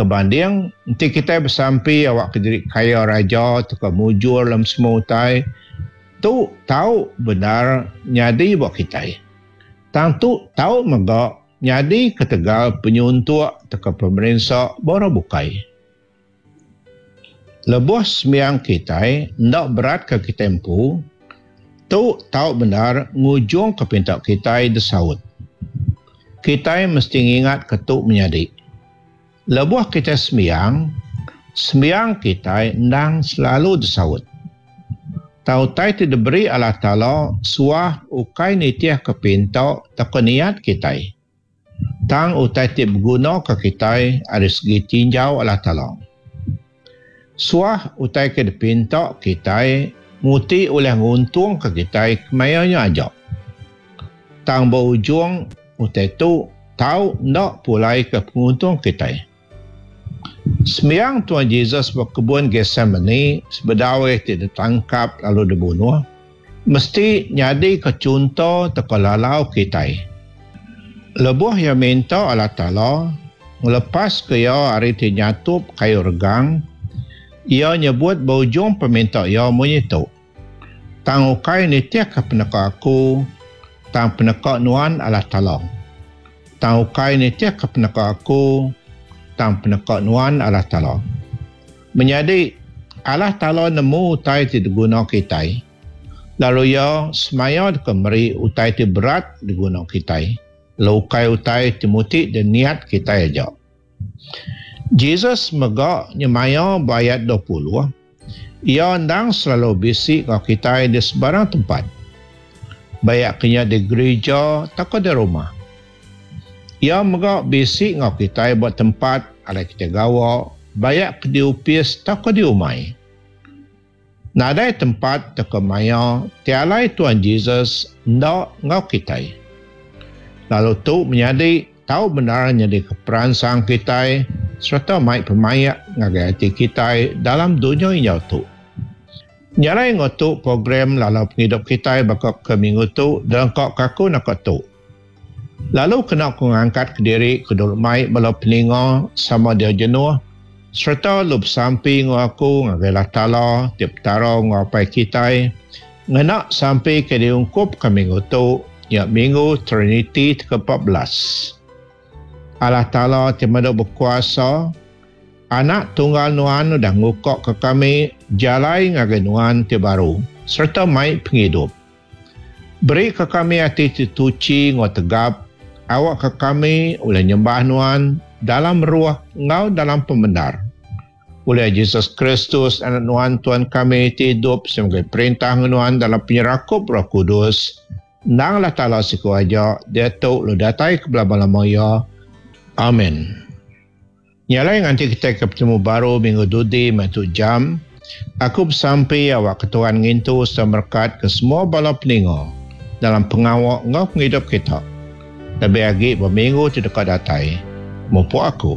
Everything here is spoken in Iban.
Ambika banding, enti kitai besampi awakka diri kaya raja tauka mujur dalam semua utai, tu tau bendar nyadi ba kitai. Tang tu tau mega nyadi ketegal penyuntuk tauka pemerinsa ba orang bukai. Lebuh sembiang kitai enda beratka kitai empu, tu tau bendar ngujungka pinta kitai disaut. Kitai mesti ngingatka tu menyadi. Lebuh kitai sembiang, sembiang kitai endang selalu disaut. Tang utai ti diberi Allah Taala suah ukai nitihka pinta tauka niat kitai. Tang utai ti begunaka kitai ari segi tinjau Allah Taala. Suah utai ke dipinta kitai muti ulih nguntungka kitai kemaya nya aja. Tang ba ujung utai tu tau enda pulaika penguntung kitai. Sembiang Tuan Jesus ba kebun Getsemani sebedau iya ti ditangkap lalu dibunuh, mesti nyadika chunto tauka lalau kitai. Lebuh iya minta Allah Taala ngelepaska iya ari ti nyatup kayu regang, iya nyebut ba ujung peminta iya munyi tu, Tang ukai nitihka peneka aku, tang peneka Nuan Allah Taala. Tang ukai nitihka peneka aku, tang peneka Nuan Allah Taala. Menyadi, Allah Taala nemu utai ti diguna kitai, lalu Iya semaya deka meri utai ti berat diguna kitai, lalu ukai utai ti muti diniat kitai aja. Jesus mega nyemaya ba ayat 20, Iya endang selalu bisi enggau kitai di sebarang tempat, baik ke nya di gerija tauka di rumah. Iya mega bisi enggau kitai ba tempat alai kitai gawa, baik ke di opis tauka di umai. Nadai tempat tauka maya ti alai Tuan Jesus enda enggau kitai. Lalu tu menyadi tau bendar nyadika peransang kitai sereta mai pemaik ngagai ati kitai dalam dunya injau tu. Nya alai enggau tu program lalau pengidup kitai baka ke minggu tu dilengka ke aku naka tu. Lalu kena ku ngangkat kediri ke dulu mai bala peninga sama dia jenuh sereta lu besampi enggau aku ngagai Allah Taala ti Petara enggau Apai kitai ngena sampi ke diungkupka minggu tu nya Minggu Triniti ti ke 14. Allah Taala ti Madu Bekuasa, Anak Tunggal Nuan udah ngukaka kami jalai ngagai Nuan ti baru sereta mai pengidup. Beri ke kami ati ti tuchi enggau tegap, awakka kami ulih nyembah Nuan dalam roh enggau dalam pemendar. Ulih Jesus Kristus, Anak Nuan, Tuan kami, ti idup sebagai perintah enggau Nuan dalam penyerakup Roh Kudus, endang Allah Taala siku aja, diatu lalu datai ke belama-lama iya. Amin. Nya alai nganti kitai ke betemu baru minggu dudi meh tu jam, aku besampi awakka Tuhan ngintu sereta merekatka semua bala peninga dalam pengawa enggau pengidup kita, lebih agi ba minggu ti deka datai. Mupuk aku.